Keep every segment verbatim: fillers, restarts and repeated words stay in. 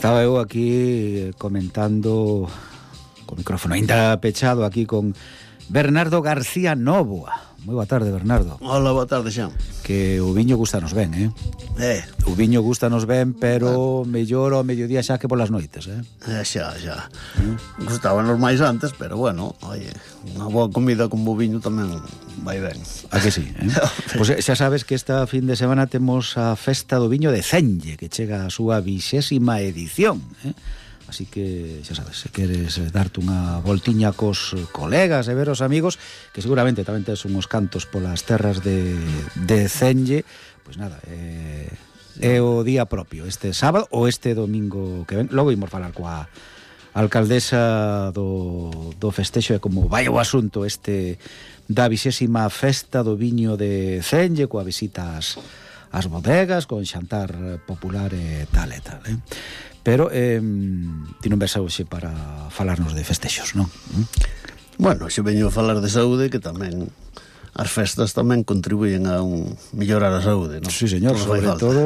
Estaba eu aquí comentando co micrófono ainda pechado aquí con Bernardo García Nóvoa. Moi boa tarde, Bernardo. Hola, boa tarde, Xan. Que o viño gustanos ben, eh? Eh. O viño gustanos ben, pero mellor ao mediodía xa que polas noites, eh? Eh, xa, xa. Mm. Gustábanos máis antes, pero bueno, oye, unha boa comida con bo viño tamén vai ben. A que sí, eh? Pois pues xa sabes que esta fin de semana temos a Festa do Viño de Cenge, que chega a súa vixésima edición, eh? Así que, xa sabes, se queres darte unha voltiña cos colegas e ver os amigos, que seguramente tamén tes unhos cantos polas terras de, de Cenge, pois nada, é, é o día propio, este sábado ou este domingo que ven. Logo imos falar coa alcaldesa do, do festexo e como vai o asunto este da vixésima Festa do Viño de Cenge, coa visita ás, ás bodegas, con xantar popular e tal e tal, eh? Pero eh, ti non ves hoxe para falarnos de festexos, non? ¿Mm? Bueno, xe veño a falar de saúde, que tamén as festas tamén contribuyen a un mellorar a saúde, non? Sí, señor, Todo sobre todo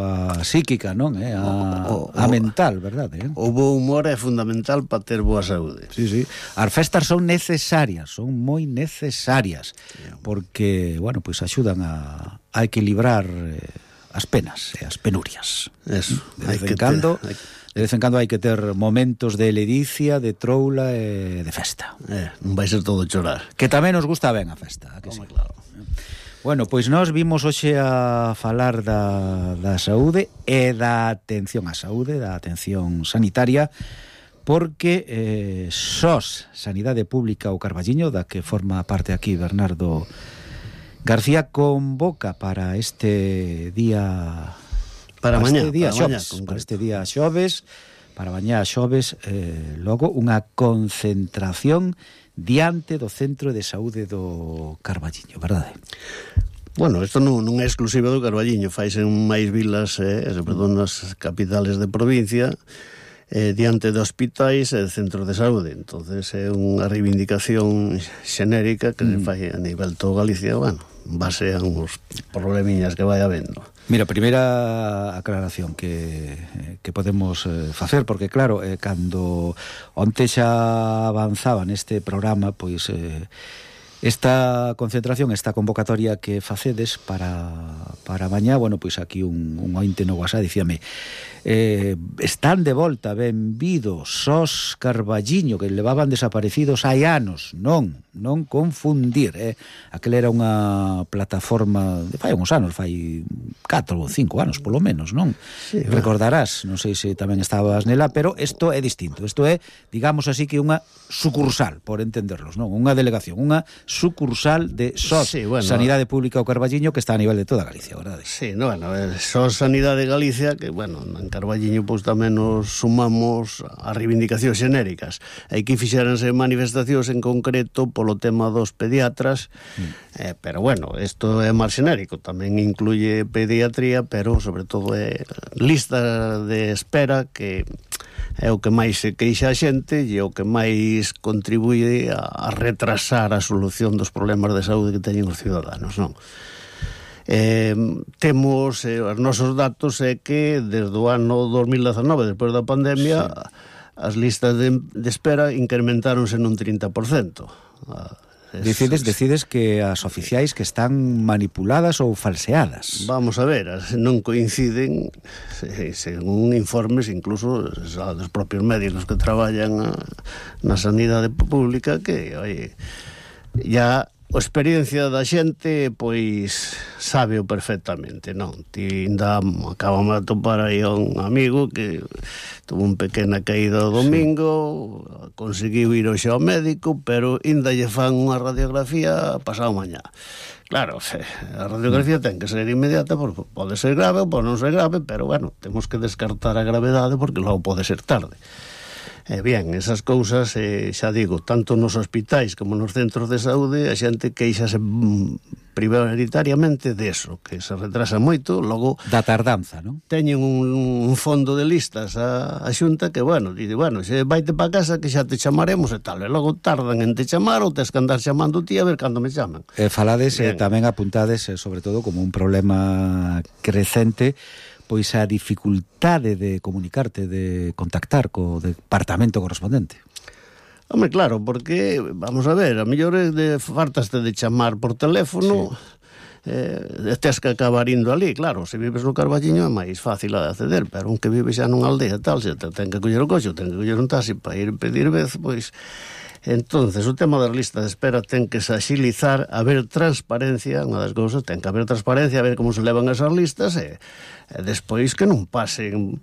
a psíquica, non? Eh? A, o, o, a mental, verdade? Eh? O bo humor é fundamental para ter boa saúde. Sí, sí. As festas son necesarias, son moi necesarias, sí, porque, bueno, pois pues axudan a, a equilibrar eh, as penas e as penurias. Eso. De vez en cando, ter, hai... de vez en cando hai que ter momentos de ledicia, de troula e de festa. Eh, non vai ser todo chorar. Que tamén nos gusta ben a festa, a que Como sí? Claro. Bueno, pois nós vimos hoxe a falar da, da saúde e da atención á saúde, da atención sanitaria, porque eh, S O S, Sanidade Pública o Carballiño, da que forma parte aquí Bernardo García, convoca para este día para, para mañá, este día para xoves, mañá, para este día xoves, para mañá xoves, eh, logo unha concentración diante do Centro de Saúde do Carballiño, verdade? Bueno, isto non, non é exclusivo do Carballiño, faise en máis vilas, eh, sobre todo nas capitales de provincia, eh, diante de hospitais e de centros de saúde. Entonces é unha reivindicación xenérica que mm. se fai a nivel todo Galicia, bueno, base a uns problemiñas que vai habendo. Mira, primeira aclaración que, que podemos eh, facer, porque claro, eh, cando onte xa avanzaba neste programa, pois eh, esta concentración, esta convocatoria que facedes para, para mañá, bueno, pois aquí un, un ointe no WhatsApp dicíame eh, están de volta, benvidos S O S Carballiño, que levaban desaparecidos hai anos, non, non confundir, eh? Aquela era unha plataforma de fai uns anos, fai catro ou cinco anos, polo menos, non? Sí, recordarás, non sei se tamén estabas nela, pero isto é distinto, isto é, digamos así, que unha sucursal, por entenderlos, non? Unha delegación, unha sucursal de S O S, sí, bueno, Sanidade Pública o Carballiño, que está a nivel de toda Galicia, verdade? Sí, no, bueno, S O S Sanidade Galicia, que, bueno, en Carballiño, pois tamén nos sumamos a reivindicacións xenéricas. Aquí fixéranse manifestacións en concreto polo tema dos pediatras, mm. eh, pero, bueno, isto é máis xenérico, tamén incluye pediatría, pero, sobre todo, é lista de espera que é o que máis se queixa a xente e o que máis contribuye a retrasar a solución dos problemas de saúde que teñen os ciudadanos, non? Eh, temos eh, os nosos datos é que desde o ano dos mil dezanove, despois da pandemia, sí, as listas de, de espera incrementáronse nun trinta por cento. Ah, Decides, decides que as oficiais que están manipuladas ou falseadas. Vamos a ver, as non coinciden, según informes incluso dos propios médicos que traballan a, na sanidade pública, que, oye, ya a experiencia da xente, pois, sábeo perfectamente, non? Ti ainda acabamos de topar aí a un amigo que tuvo un pequena caída o domingo, sí, conseguiu ir hoxe ao médico, pero ainda lle fan unha radiografía pasado mañá. Claro, a radiografía ten que ser inmediata, porque pode ser grave ou pode non ser grave, pero, bueno, temos que descartar a gravedade porque logo pode ser tarde. Eh, bien, esas cousas, eh, xa digo, tanto nos hospitais como nos centros de saúde, a xente queixase mm, prioritariamente deso, que se retrasa moito, logo... Da tardanza, non? Teñen un, un fondo de listas a, a xunta que, bueno, dice, bueno, xe vaite pa casa que xa te chamaremos e tal, e logo tardan en te chamar ou tes que andar chamando ti a ver cando me chaman. Eh, falades, eh, tamén apuntades, eh, sobre todo, como un problema crecente, pois a dificultade de comunicarte, de contactar co departamento correspondente. Home, claro, porque, vamos a ver, a mellor é de fartaste de chamar por teléfono, sí. eh, tes que acabar indo ali, claro, se vives no Carballiño é máis fácil de acceder, pero un que vive xa nunha aldea tal, se te ten que coller o coche, ten que coller un taxi para ir pedir vez, pois... Entonces, o tema das listas de espera ten que se axilizar, haber transparencia, unha das cousas, ten que haber transparencia, a ver como se levan esas listas, e, e despois que non pasen...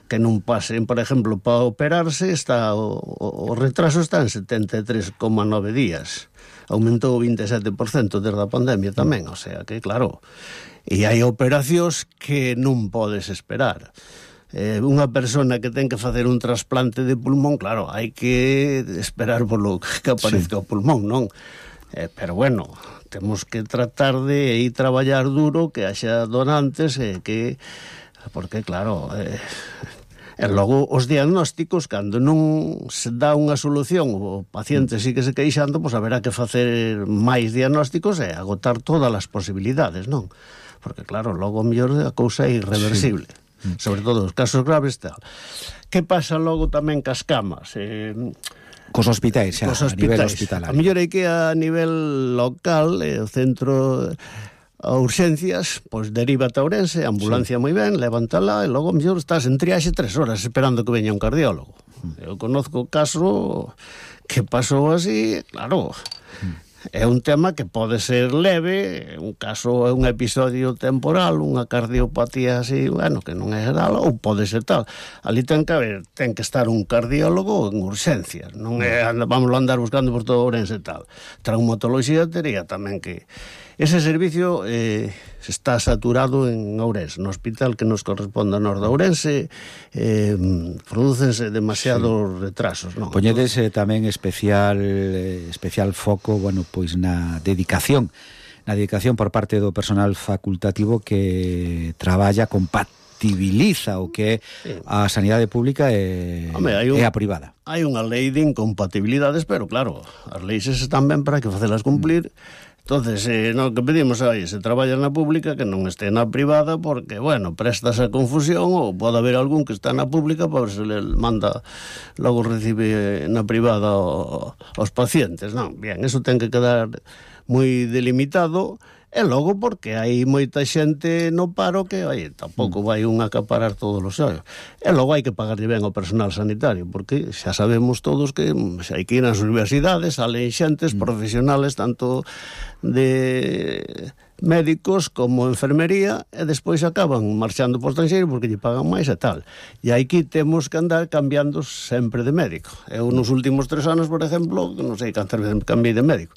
que non pasen, por exemplo, para operarse está o, o, o retraso está en setenta e tres coma nove días. Aumentou o vinte e sete por cento desde a pandemia tamén, o sea que, claro, e hai operacións que non podes esperar. Eh, unha persona que ten que facer un trasplante de pulmón, claro, hai que esperar polo que aparezca sí. o pulmón, non? Eh, pero bueno, temos que tratar de ir traballar duro, que haxa donantes, e eh, que... porque, claro... Eh, E logo os diagnósticos, cando non se dá unha solución, o paciente sí que se queixando, pois haberá que facer máis diagnósticos e agotar todas as posibilidades, non? Porque claro, logo mellor a cousa é irreversible, sí. Sobre todo os casos graves tal. Que pasa logo tamén cas camas? Eh, Cos hospitais, xa, cos a nivel hospitalario. hospitalario. A mellor hai que a nivel local, eh, o centro... a urxencias, pois derívate a Ourense, ambulancia sí. moi ben, levántala e logo mellor estás en triaxe tres horas esperando que veña un cardiólogo. Mm. Eu conozco o caso que pasou así, claro, mm. é un tema que pode ser leve, un caso é un episodio temporal, unha cardiopatía así, bueno, que non é geral, ou pode ser tal. Ali ten que haber, ten que estar un cardiólogo en urxencias, non é, vamos a andar buscando por todo Ourense e tal. Traumatoloxía tería tamén que... Ese servicio eh, está saturado en Ourense, no hospital que nos corresponde a nós de Ourense, eh, prodúcense demasiados sí. retrasos, non? Poñedes eh, tamén especial eh, especial foco, bueno, pois na dedicación, na dedicación por parte do personal facultativo que traballa compatibiliza o que é a sanidade pública e, Home, un, e a privada. Hai unha lei de incompatibilidades, pero claro, as leis están ben para que facelas cumplir. Mm. Entonces, eh, no que pedimos aí, se traballa na pública, que non este na privada, porque, bueno, prestas a confusión, ou pode haber algún que está na pública para ver se le manda, logo recibe na privada o, os pacientes, non? Bien, eso ten que quedar moi delimitado, e logo porque hai moita xente no paro que, oi, tampouco vai un acaparar todos os ollos. E logo hai que pagarlle ben ao personal sanitario, porque xa sabemos todos que xa hai que ir nas universidades, salen xentes mm. profesionales, tanto de médicos como enfermería, e despois acaban marchando por estranxeiro porque lle pagan máis e tal. E aquí temos que andar cambiando sempre de médico. Eu nos últimos tres anos, por exemplo, non sei cantas veces cambiei de médico.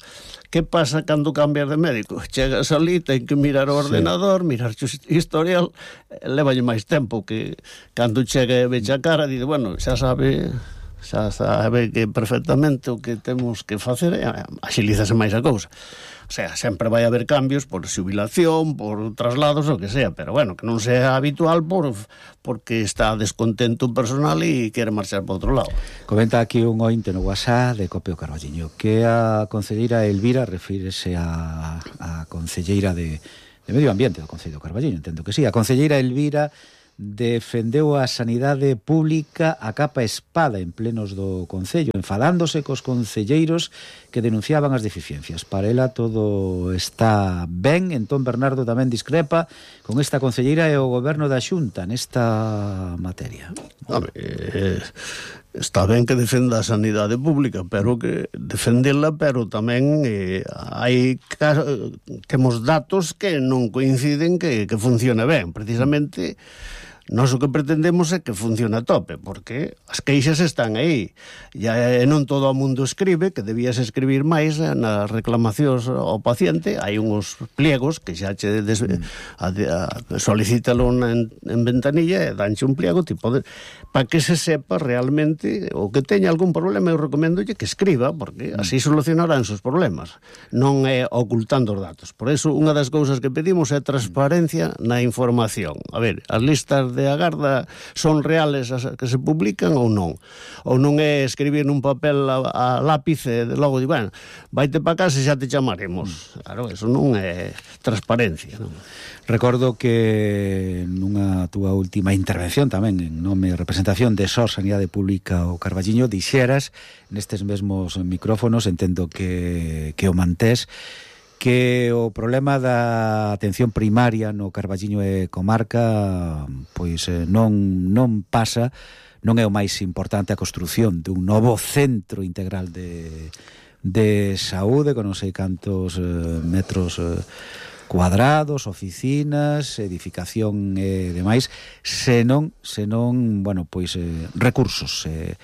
Que pasa cando cambias de médico? Chegas ali, ten que mirar o ordenador, sí. mirar o historial, levalle máis tempo que cando chega e veche a cara, dice, bueno, xa sabe, xa sabe que perfectamente o que temos que facer, axilízase máis a cousa. O sea, sempre vai haber cambios por xubilación, por traslados, o que sea, pero bueno, que non sea habitual por porque está descontento un personal e quere marchar para outro lado. Comenta aquí un ointe no WhatsApp de Copio Carballiño que a concelleira Elvira refírese a, a concelleira de, de Medio Ambiente do Concello de Carballiño, entendo que sí. A concelleira Elvira defendeu a sanidade pública a capa espada en plenos do Concello, enfadándose cos concelleiros que denunciaban as deficiencias. Para ela todo está ben, entón Bernardo tamén discrepa con esta concelleira e o goberno da Xunta nesta materia. Home, eh, está ben que defenda a sanidade pública, pero que defendela, pero tamén eh, hai temos datos que non coinciden que, que funcione ben. Precisamente nós o que pretendemos é que funcione a tope, porque as queixas están aí. E non todo o mundo escribe, que debías escribir máis nas reclamacións ao paciente. Hai uns pliegos que xa che des, a, a, solicítalo en, en ventanilla e danche un pliego tipo de, para que se sepa realmente o que teña algún problema. Eu recomendolle que escriba, porque así solucionarán os problemas, non é ocultando os datos. Por eso, unha das cousas que pedimos é transparencia na información. A ver, as listas listas de agarda son reales as que se publican ou non? Ou non é escribir nun papel a, a lápiz e logo di, bueno, vaite para casa e xa te chamaremos. Claro, eso non é transparencia, non? Recordo que nunha túa última intervención tamén en nome e representación de S O S Sanidade Pública o Carballiño dixeras nestes mesmos micrófonos, entendo que, que o mantés, que o problema da atención primaria no Carballiño e comarca pois non, non pasa, non é o máis importante a construción dun novo centro integral de, de saúde con non sei cantos eh, metros eh, cuadrados, oficinas, edificación e demais, senón, senón, bueno, pois eh, recursos, eh,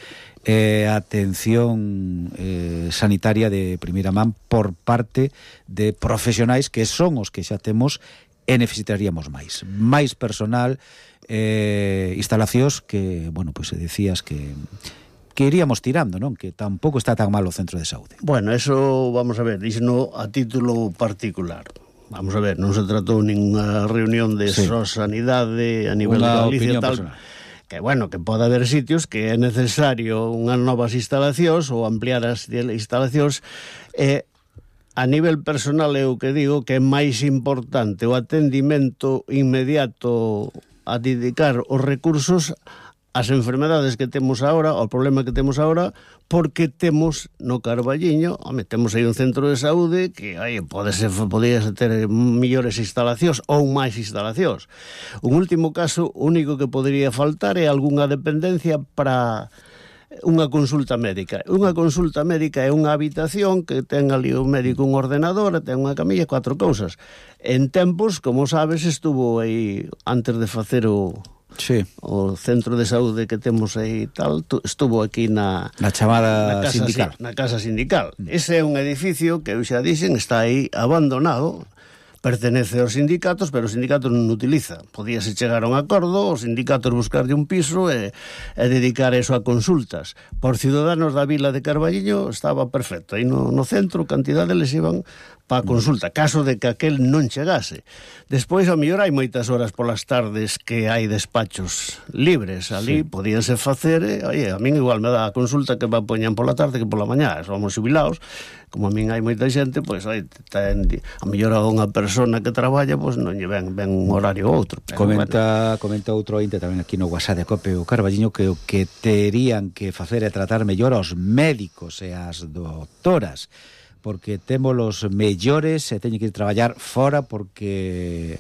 eh, atención eh, sanitaria de primeira man por parte de profesionais que son os que xa temos e necesitaríamos máis. Máis personal, eh, instalacións que, bueno, pois decías que que iríamos tirando, non? Que tampouco está tan mal o centro de saúde. Bueno, eso, vamos a ver, díxeno a título particular. Vamos a ver, non se tratou ninguna reunión de sí. S O S Sanidade a nivel de Galicia tal, personal. Que bueno, que pode haber sitios que é necesario unhas novas instalacións ou ampliar as instalacións. E a nivel personal é o que digo que é máis importante o atendimento inmediato a dedicar os recursos as enfermedades que temos agora, o problema que temos agora, porque temos no Carballiño, home, temos aí un centro de saúde que, ai, pode ser, podía ter millores instalacións ou máis instalacións. Un último caso, único que podría faltar é algunha dependencia para unha consulta médica. Unha consulta médica é unha habitación que ten ali o médico un ordenador, ten unha camilla, cuatro cousas. En tempos, como sabes, estuvo aí, antes de facer o... Sí. O centro de saúde que temos aí tal, estuvo aquí na na chamada na casa sindical. Na casa sindical. Mm. Ese é un edificio que eu xa dixen está aí abandonado, pertenece aos sindicatos, pero os sindicatos non utiliza. Podíase chegar a un acordo, os sindicatos buscarlle un piso e, e dedicar eso a consultas. Por ciudadanos da vila de Carballiño estaba perfecto. Aí no, no centro, cantidade les iban para a consulta, caso de que aquel non chegase. Despois, ao mellor, hai moitas horas polas tardes que hai despachos libres ali, sí. Podíanse facer, e, oye, a min igual me dá a consulta que me poñan pola tarde que pola mañá, somos jubilados, como a min hai moita xente, pois, oye, ten, a mellor a unha persona que traballa, pois non lle ven, ven un horario ou outro. Pero, comenta, bueno. Comenta outro ointe tamén aquí no WhatsApp de Cope o Carballiño que o que terían que facer é tratar mellor aos médicos e as doctoras, porque temos os mellores e teñen que ir traballar fora porque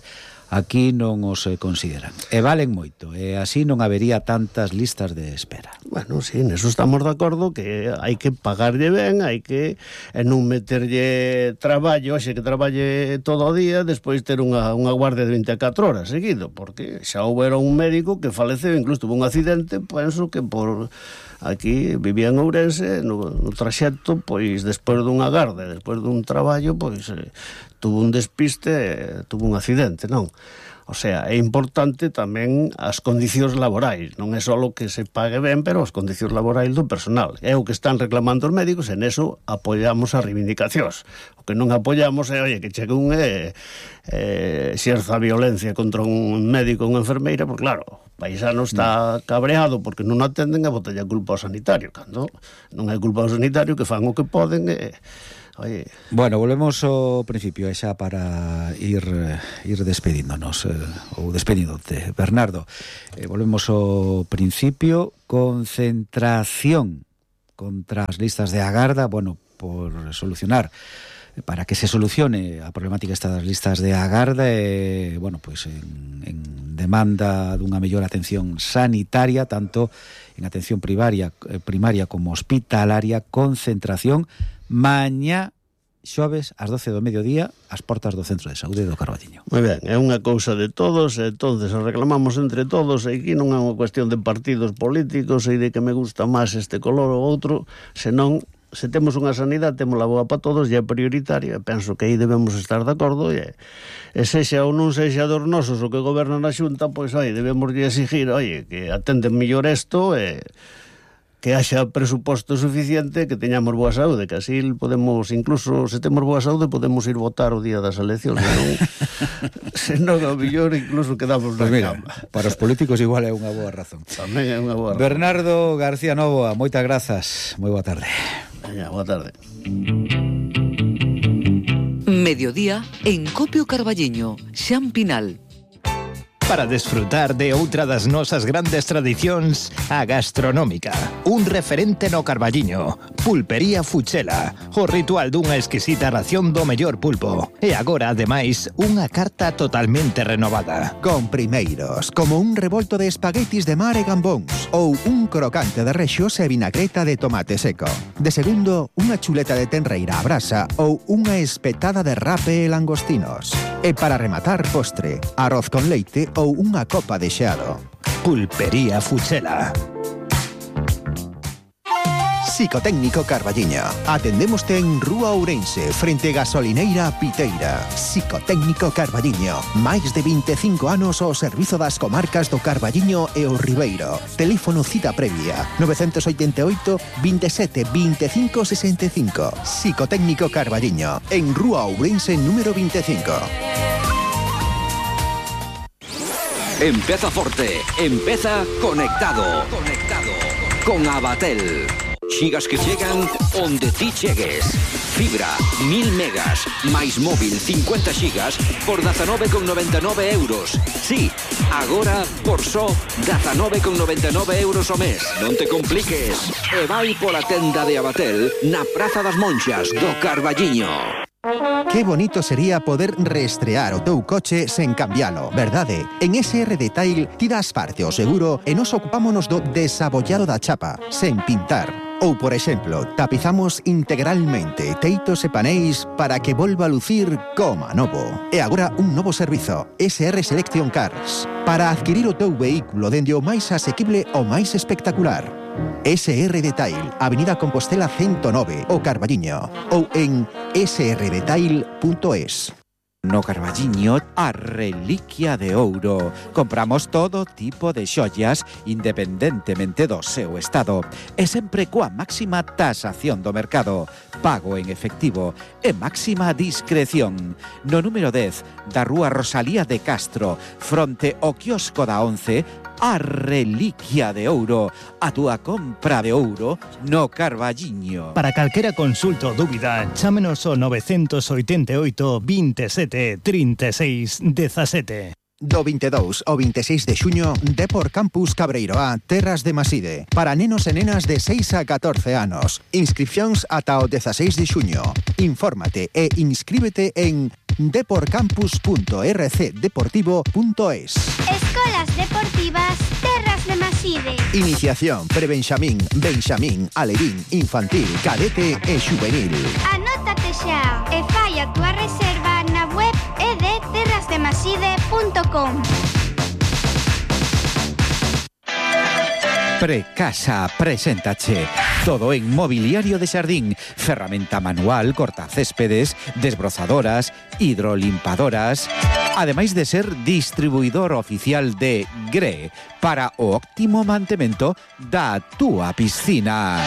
aquí non os consideran. E valen moito, e así non habería tantas listas de espera. Bueno, sí, neso estamos de acordo que hai que pagarlle ben, hai que e non meterlle traballo, xe que traballe todo o día, despois ter unha, unha guardia de vinte e catro horas seguido, porque xa houbera un médico que faleceu, incluso tuvo un accidente, penso que por... Aquí vivía en Ourense, no, no traxecto, pois, despois dunha garda, despois dun traballo, pois, eh, tuvo un despiste, eh, tuvo un accidente, non? O sea, é importante tamén as condicións laborais, non é só o que se pague ben, pero as condicións laborais do personal. É o que están reclamando os médicos, e neso apoiamos as reivindicacións. O que non apoiamos é, oye, que chegue un e eh, xerza violencia contra un médico ou unha enfermeira, porque claro, o paisano está cabreado porque non atenden e botella culpa ao sanitario, cando non é culpa ao sanitario, que fan o que poden e... Oye. Bueno, volvemos ao principio e xa para ir ir despedíndonos eh, ou despedíndote, Bernardo. Eh, volvemos ao principio, concentración contra as listas de agarda, bueno, por solucionar para que se solucione a problemática esta das listas de agarda e, bueno, pois en, en demanda dunha mellor atención sanitaria, tanto en atención primaria, eh, primaria como hospitalaria, concentración mañá xoves ás doce do mediodía ás portas do Centro de Saúde do Carballiño. Moi ben, é unha cousa de todos, e entonces reclamamos entre todos, e aquí non é unha cuestión de partidos políticos e de que me gusta máis este color ou outro, senón se temos unha sanidade, temos la boa para todos e é prioritaria, penso que aí debemos estar de acordo e, e sexa ou non sexa dos nosos o que gobernan a Xunta, pois aí debemos de exigir, oye, que atenden mellor isto e que haxa presuposto suficiente, que teñamos boa saúde, que así podemos, incluso se temos boa saúde, podemos ir votar o día das eleccións, senón, senón ao millor incluso quedamos na pues mira, cama. Para os políticos igual é unha boa razón. Tamén é unha boa razón. Bernardo García Novoa, moitas grazas, moi boa tarde. Veña, boa tarde. Mediodía en Copio Carballiño, Xan Pinal. Para desfrutar de outra das nosas grandes tradicións, a gastronómica. Un referente no Carballiño. Pulpería Fuchela. O ritual dunha exquisita ración do mellor pulpo. E agora, ademais, unha carta totalmente renovada. Con primeiros, como un revolto de espaguetis de mar e gambóns, ou un crocante de rexos e vinagreta de tomate seco. De segundo, unha chuleta de tenreira a brasa ou unha espetada de rape e langostinos. E para rematar, postre, arroz con leite ou unha copa de xeado. Pulpería Fuchela. Psicotécnico Carballiño. Atendémoste en Rúa Ourense, frente Gasolineira Piteira. Psicotécnico Carballiño. Máis de vinte e cinco anos ao servizo das comarcas do Carballiño e o Ribeiro. Teléfono cita previa nove oito oito, veintisiete, veinticinco sesenta e cinco. Psicotécnico Carballiño. En Rúa Ourense número veinticinco. Empeza forte, empeza conectado. Conectado con Abatel. Xigas que chegan onde ti chegues. Fibra, mil megas, máis móvil cincuenta xigas por dezanove con noventa e nove euros. Sí, agora por só dezanove con noventa e nove euros ao mes. Non te compliques. E vai pola tenda de Abatel na Praza das Monxas do Carballiño. Que bonito sería poder reestrear o teu coche sen cambialo, verdade? En S R Detail ti das parte o seguro e nos ocupámonos do desabollado da chapa, sen pintar. Ou, por exemplo, tapizamos integralmente teitos e paneis para que volva a lucir como novo. E agora un novo servizo, S R Selection Cars, para adquirir o teu vehículo dende o máis asequible ao máis espectacular. S R Detail, Avenida Compostela ciento nove, o Carballiño, ou en s r detail punto es. No Carballiño, a reliquia de ouro. Compramos todo tipo de xollas independentemente do seu estado e sempre coa máxima tasación do mercado, pago en efectivo e máxima discreción. No número dez da Rúa Rosalía de Castro, fronte ao quiosco da once, a reliquia de ouro, a túa compra de ouro no Carballiño. Para calquera consulta ou dúbida, chámenos ao nove oito oito, veintisiete, trinta e seis, dezasete. Do veintidós ao veintiséis de xuño, Depor Campus Cabreiroá, Terras de Maside. Para nenos e nenas de seis a catorce anos. Inscripcións ata o dezasseis de xuño. Infórmate e inscríbete en deporcampus punto r c deportivo punto es. Escolas Deportivas Terras de Maside. Iniciación, prebenxamín, benxamín, alevín, infantil, cadete e xuvenil. Anótate xa e fai a túa reserva na web e de terras de maside punto com. Precasa preséntache todo en mobiliario de xardín, ferramenta manual, cortacéspedes, desbrozadoras, hidrolimpadoras, ademais de ser distribuidor oficial de G R E para o óptimo mantemento da túa piscina.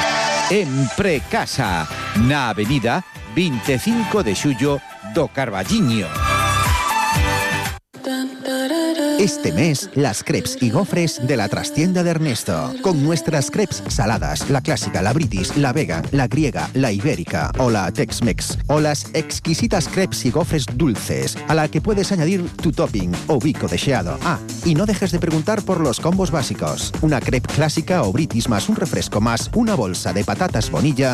En Precasa, na avenida veinticinco de xullo do Carballiño. Este mes, las crepes y gofres de la trastienda de Ernesto. Con nuestras crepes saladas, la clásica, la british, la vegan, la griega, la ibérica o la Tex-Mex. O las exquisitas crepes y gofres dulces, a la que puedes añadir tu topping o bico de xeado. Ah, y no dejes de preguntar por los combos básicos. Una crepe clásica o british más un refresco más una bolsa de patatas bonilla